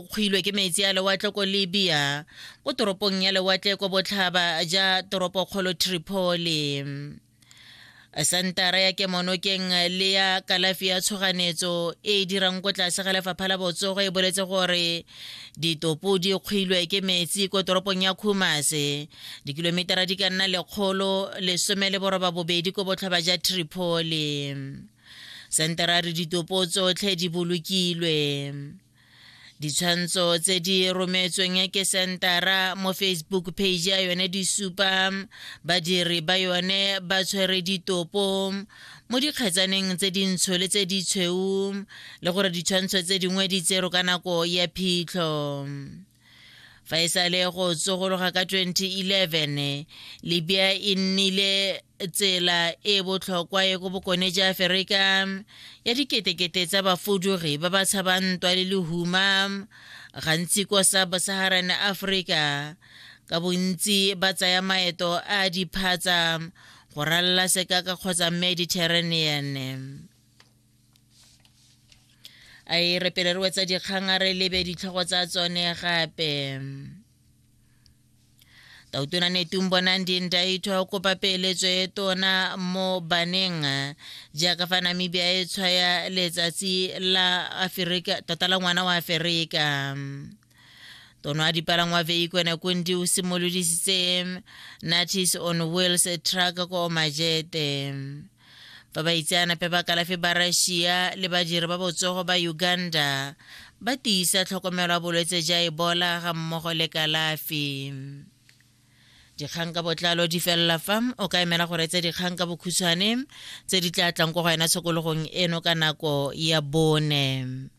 kgwilwe ke metsi a lewatle ko Libya, ko toropong ya lewatle ko botlhaba ja toropokgolo Tripoli. Santara ya kemonokeng le ya kalafi ya tshoganetso e e dirang ko tlase ga lefapha la botsogo e boletse gore ditopo di kgwilwe ke metsi ko toropong ya Khumase, dikilometara di ka nna 118 ko botlhaba ja Tripoli. Santara a re ditopo tsotlhe di bolokilwe. Ditshwantsho tse di rometsweng ke sentara mo Facebook page ya yone di supa badiri ba yone ba tshwere ditopo mo dikgetsaneng tse dintsho le tse ditshweu le gore ditshwantsho tse dingwe di tserwe ka nako ya phitlho. Fa e sale go tsogologa ka 2011, Libya e nnile tsela e botlhokwa e ko bokone jwa Aferika ya diketekete tsa bafudugi ba ba tshabang ntwa le lehuma, gantsi kwa Sub-Saharan Africa, ka bontsi ba tsaya maeto a diphatsa go ralala sekaka kgotsa Mediterranean. A e re pele re wetsa dikgang a re lebe ditlhogo tsa tsone gape. Tautona Netumbo Nandi-Ndaitwah o kopa peeletso e tona mo baneng jaaka fa Namibia e tshwaya letsatsi la Aferika tota la ngwana wa Aferika. Tono a dipalangwa Veiko Nekundi o simolodisitse Natis on Wheels truck ko Omajete. Fa baitseanape ba kalafi ba Russia le badiri ba botsogo ba Uganda ba tiisa tlhokomelo ya bolwetse ja Ebola ga mmogo le kalafi. Dikgang ka botlalo di felela fa o ka emela go reetsa dikgang ka bokhutshwane tse di tla tlang ko go wena tshokologong eno ka nako ya bone.